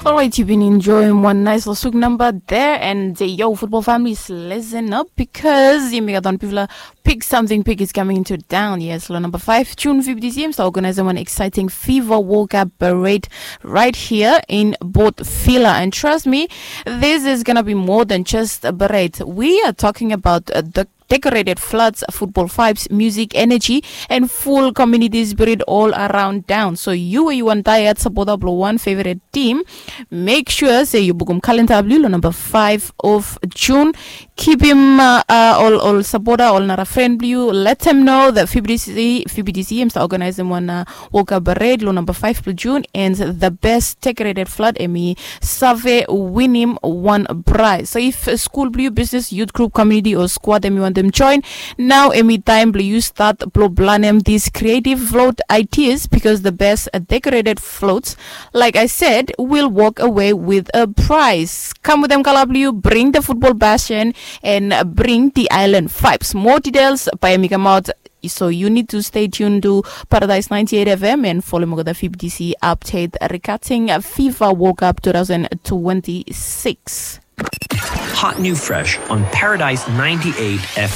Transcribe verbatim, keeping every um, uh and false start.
All right, you've been enjoying one nice little Suk number there, and uh, yo, football families, listen up because yumi gat wan bigfala big something big is coming into town. Yes, lo number five, June fifty C M, so organizing one exciting FIFA World Cup parade right here in Port Vila. And trust me, this is gonna be more than just a parade. We are talking about uh, the decorated floods, football vibes, music, energy, and full community spirit all around town. So you, you want tired supporter blow one favorite team, make sure say you book calendar blue lo number five of June. Keep him uh, uh, all, all supporter, all nara friend blue. Let them know that F B D C, F B D C, I'm organizing one uh, World Cup parade lo number five of June, and the best decorated flood, emi save win him one prize. So if uh, school blue, business, youth group, community or squad, emi want them join, now emi time blue you start blow blanem these creative float ideas, because the best uh, decorated floats, like I said, will walk away with a prize. Come with them, Kalabliu. Bring the football passion and uh, bring the island vibes. More details by Mika Mount. So you need to stay tuned to Paradise ninety-eight F M and follow Mogoda F B D C update regarding uh, FIFA World Cup two thousand twenty-six. Hot new fresh on Paradise ninety-eight F M.